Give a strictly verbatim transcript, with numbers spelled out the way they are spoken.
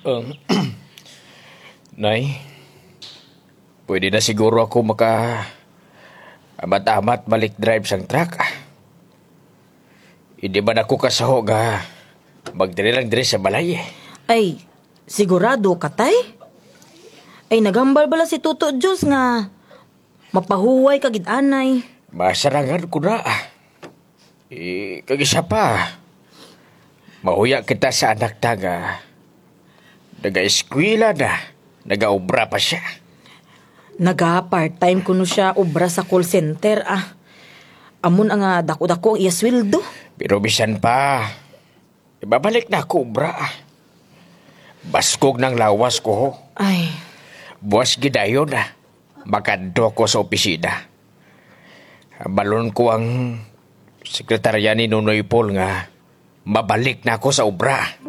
Um, Nay, pwede na siguro ako maka-amat-amat balik drive sang truck. Indi man ako kasuho nga magdiri lang diri sa balay, eh. Ay, sigurado ka, Tay? Ay, naghambal bala si Toto Diyos nga mapahuway ka gid anay. Masarangan ko na, ah. Eh, kag isa pa, mahuya kita sa anak ta nga nagaeskwela na, nagaobra pa siya. Naga-part-time kuno siya obra sa call center, ah. Amo na nga dako-dako ang iya sweldo. Pero bisan pa, ibabalik na ako obra, ah. Baskog na ang lawas ko, ho. Ay. Buwas gid dayon, ah, makadto ko sa opisina. Hambalon ko ang sekretarya ni Nonoy Paul nga mabalik na ako sa obra.